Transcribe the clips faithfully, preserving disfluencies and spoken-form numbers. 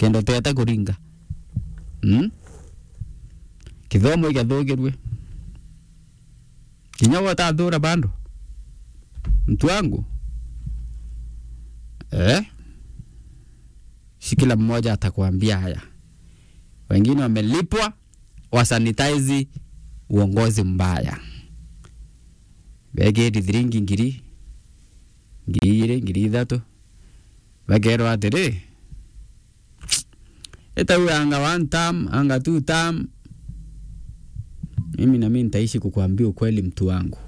kenda uteta kuringa. Mm? Kithomo igathugirue. Kinya we utathura bado. Mtu wangu. Eh? Si kila mmoja atakwambia haya. Wengine wamelipwa wa sanitize uongozi mbaya. Begeti thiringi ngiri, ngiri igiri, ngiri ithatu. Bakerwa atiri, "Ita huyu anga one term, anga two term." Mimi na mimi nitaishi kukuambia ukweli, mtu wangu.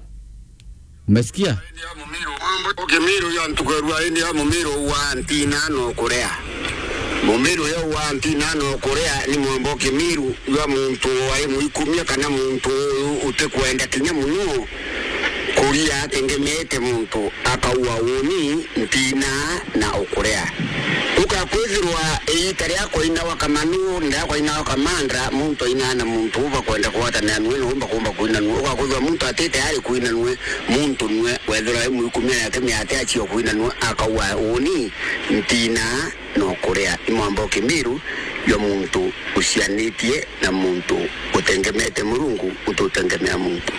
Umesikia? Kimiru ya ntuku ya rua indi ya mumiru wa ntina no kuria. Mumiru ya wa ntina no kuria ni mwambo kimiru ya muntu wai mwikumia kana muntu uyu utikwenda kinya muno. Kuria atengemete muntu akaua uni, ntina na ukuria. Ukakwithirwa iita ria kwainawa kamanu, ria kwainawa kamandra, muntu ainaa na muntu ubakwenda kugwatanira nue, na umba kumba kuina nue. Ukakwithirwa muntu ati tayari kuina nue, muntu nue, wethirwa ai mwikumia yake miate achio kuina nue, akaua uni, ntina na ukuria. Ni mwambo kimiru jwa muntu ucianitie na muntu utengemete Murungu, ututengemea muntu.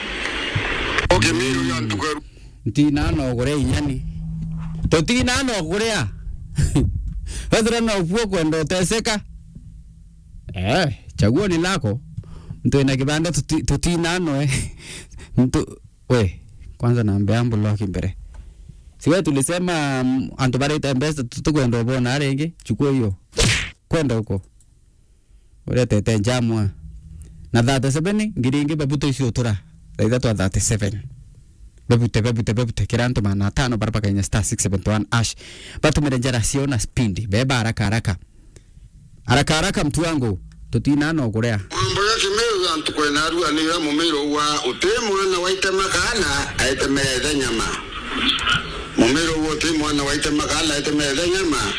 O kimiru jwa ntuku ya ru- Ntina no kuria inyani. Tutina no kuria. Wethira no kuo kwenda uteseka. Eh, chaguo ni lako. Mtu ena kibanda tuti-, tutina no, eh. Mtu, we, kwanza nambe ambu loki mbere. Si wewe tulisema, mm, antu barete mbeca tu-, tukwenda ubona aringi, chukua hiyo. Kwenda huko. Uretete njamwa. Na thirty-seven, ngiri ingi bebute icio utura. Thaa ithatu a thirty-seven. Bebute, bebute, bebute. Kira antu magana atano bara bakainya star six seventy one hash. Batumire njara ciao na speed. Beba haraka, haraka. Haraka, haraka, mtu wangu. Tutina no kuria. Mambo ya kimiru ya ntuku ena rua ni ya mumiru wa uti mwana waite makala, aite methe nyama. Mumiru uo ti mwana waite makala, aite methe nyama.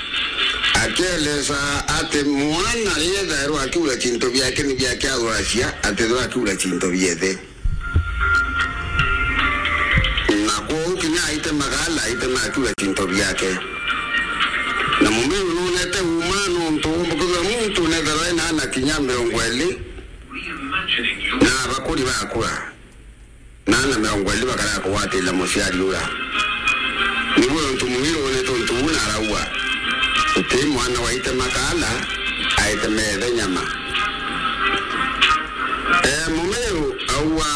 Akieleza ati mwana riethairwa akiura cinto biake ni biake athwacia, atithirwa akiura cinto biethe. Na kwou kinya aite makala, aite makura cinto biake. Na mumiru nunete uma nuntu umbukithwa muntu netherwa ena ana kinya mirongo iri na bakuri bakura. Na ana mirongo iri bakara kugwatira muciari ura. Niguo untu mumiru unete untu buu na arauga, uti mwana waite makala, aite methe nyama. Eh, mumiru auga,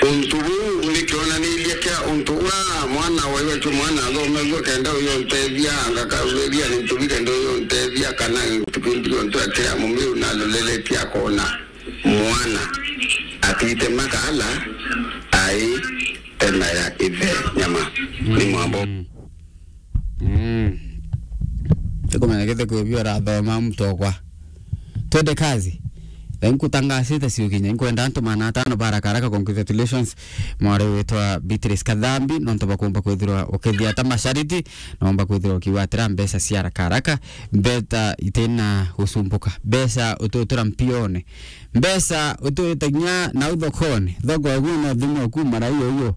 untu buu ni kionaniria kia untu ura mwana wa iwe tu mwana athomethua kenda uyu untethia, anga karuria ni ntubi kenda uyu untethia, kana ntubi ndio ntu akira mumiru na aloreretie akona mwana atite makala ai temera ithe nyama. Ni mwambo. Mm. Mm. Tukumenya githe kwi bio rathoma mtokwa. Twende kazi. Thank you, tangasite ciukinya. Nkwenda antu magana atano ba haraka haraka. Congratulations. Mwari witwa Beatrice Kathambi, nontu bakumba kwithirwa ukithia ta mashariti, nomba kwithirwa ukiwatira mbeca cia haraka haraka, mbeta itina gusumbuka. Mbeca ututura mpione. Mbeca utuitagia na uthokone. Thoko yaku no thimu yaku mara hiyo hiyo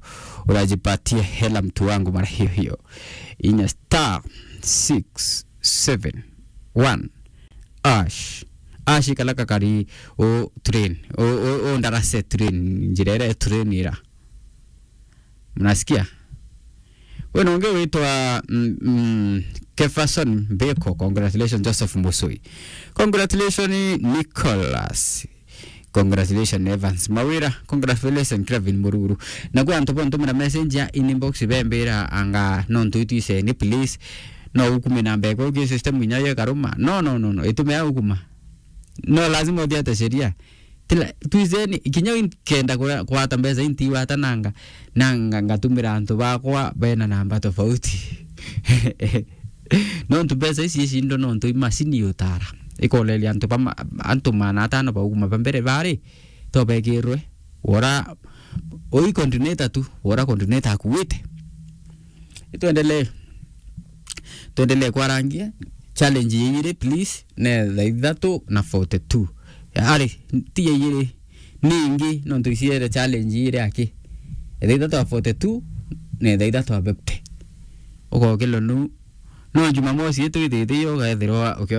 urajipatie hela mtu wangu mara hiyo hiyo. Inya star six seven one hash. Hash kala kakari o train. O, o, o ndarase train. Njira ira train ira. Mnasikia? Wena ungi witwa, mm, mm, Kefason Mbeko. Congratulations, Joseph Musui. Congratulations, Nicholas. Congratulations, Evans Mawira. Congratulations, Craven Mururu. Na kwa antu bontumira message ya inbox bembira anga no ntu itwiseni, please. No ukume na mbeko ki system inya ye karuma. No, no, no, no. Itume ya ukuma. No, lazima uthiate sheria. Tila, twizeni, kinya inkenda kura-, kwata mbeca intiwata nanga, nanga ngatumira antu bakwa bena namba tofauti. Nontu mbeca ici icindo nontu imacini yutara. Ikoreria antu bama-, antu magana atano bauma ba mbere bari, to bekirwe. Wora, ui coordinator tu, wora coordinator akuite. Itwendelee. Twendelee kwarangia. Challenge ya igiri, please, ne thaa ithatu na forty-two. Ari, ti ya igiri. Ningi, nontu iciere challenge igiri aki. Thaa ithatu na forty-two, ne thaa ithatu na fifty. Ugokilwa nu, No Jumamosi itwithite yo ugaethirwa ukiona